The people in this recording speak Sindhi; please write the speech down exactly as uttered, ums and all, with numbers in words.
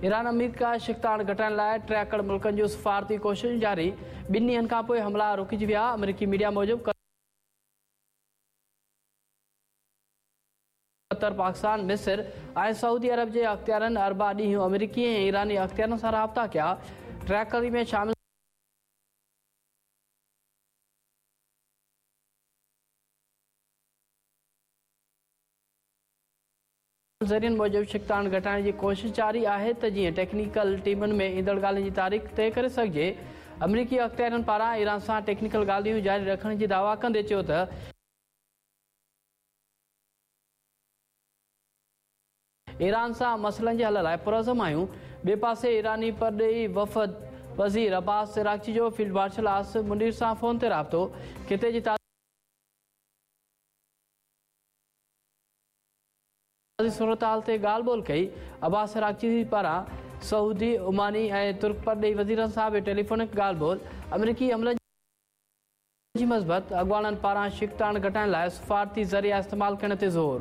ايران آمريڪا ڇڪتاڻ گهٽائڻ لاءِ ٽياڪڙ ملڪن جون سفارتي ڪوششون جاري. ٻن ڏينهن کان پوءِ حملا رڪجي ويا. آمريڪي ميڊيا موجب قطر، پاڪستان، مصر ۽ سعودي عرب جي اختيارن اربع ڏينهن آمريڪي ۽ ايراني اختيارن سان رابطا ڪيا. ٽياڪڙي ۾ شامل ذريعن موجب ڇڪتاڻ گهٽائڻ جي ڪوشش جاري آهي ته جيئن ٽيڪنيڪل ٽيمن ۾ ايندڙ ڳالهين جي تاريخ طئي ڪري سگهجي. آمريڪي اختيارين پاران ايران سان ٽيڪنيڪل ڳالهيون جاري رکڻ جي دعويٰ ڪندي چيو ته ايران سان مسئلن جي حل لاءِ پرعزم آهيون. ٻئي پاسي ايراني پرڏيهي وفد وزير عباس عراقچي جو فيلڊ مارشل عاصم منير سان فون تي رابطو. خطي جي सूरत हाल ते ॻाल्हि ॿोल कई। अब्बास अराक़ची पारां सऊदी, ओमानी ऐं तुर्क परॾेही वज़ीरनि सां बि टेलीफोनिक ॻाल्हि ॿोल। अमरीकी हमलनि जी मज़बत, अॻवाणनि पारां छिकताण घटाइण लाइ सफ़ारती ज़रिया इस्तेमाल करण ते ज़ोर।